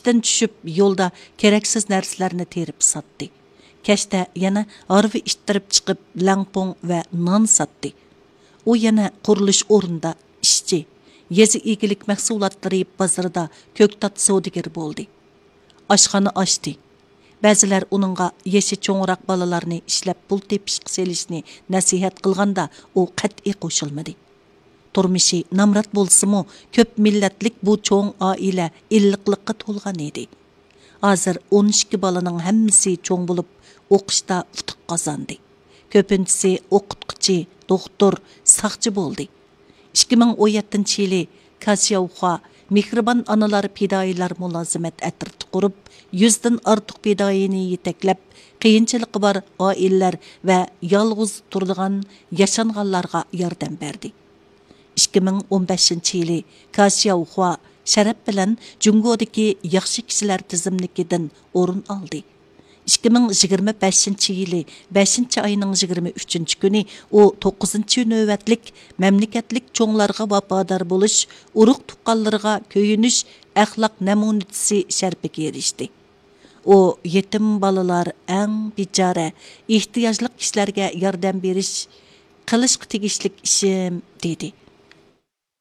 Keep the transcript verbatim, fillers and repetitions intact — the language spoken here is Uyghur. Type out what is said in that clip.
ئىشتىن چۈشۈپ، يولدا كېرەكسىز نەرسىلەرنى تېرىپ ساتتى. كەچتە يەنە ھارۋا ئىتتىرىپ چىقىپ، لەڭپۇڭ ۋە نان ساتتى. ئۇ يەنە قۇرۇلۇش ئورنىدا ئىشچى، يېزا ئىگىلىك مەھسۇلاتلىرى بازىرىدا كۆكتات سودىگىرى بولدى. ئاشخانا ئاچتى. بەزىلەر ئۇنىڭغا يېشى چوڭراق بالىلارنى ئىشلەپ پۇل تېپىشقا سېلىشنى نەسىھەت قىلغاندا، ئۇ قەتئىي قوشۇلمىدى. تۇرمۇشى نامرات بولسىمۇ، كۆپ مىللەتلىك بۇ چوڭ ئائىلە ئىللىقلىققا تولغان ئىدى. ھازىر ئون ئىككى بالىنىڭ ھەممىسى چوڭ بولۇپ، ئوقۇشتا ئۇتۇق قازاندى. كۆپىنچىسى ئوقۇتقۇچى، دوختۇر، ساقچى بولدى. ئىككى مىڭ ئون يەتتىنچى يىلى كاشياۋخۇا مېھرىبان ئانىلار پىدائىيلار مۇلازىمەت ئەترىتى قۇرۇپ، يۈزدىن ئارتۇق پىدائىينى يېتەكلەپ، قىيىنچىلىقى بار ئائىلىلەر ۋە يالغۇز تۇرىدىغان ياشانغانلارغا ياردەم بەردى. ئىككى مىڭ ئون بەشىنچى يىلى كاشياۋخۇا شەرەپ بىلەن جۇڭگودىكى ياخشى كىشىلەر تىزىملىكىدىن ئورۇن ئالدى. ئىككى مىڭ يىگىرمە بەشىنچى يىلى بەشىنچى ئاينىڭ يىگىرمە ئۈچىنچى كۈنى ئۇ توققۇزىنچى نۆۋەتلىك مەملىكەتلىك چوڭلارغا ۋاپادار بولۇش، ئۇرۇق تۇغقانلىرىغا كۆيۈنۈش ئەخلاق نەمۇنىسى شەرىپىگە ئېرىشتى. ئۇ يېتىم بالىلار، ئەڭ بىچارە، ئېھتىياجلىق كىشىلەرگە ياردەم بېرىش قىلىشقا تېگىشلىك ئىشىم، دېدى.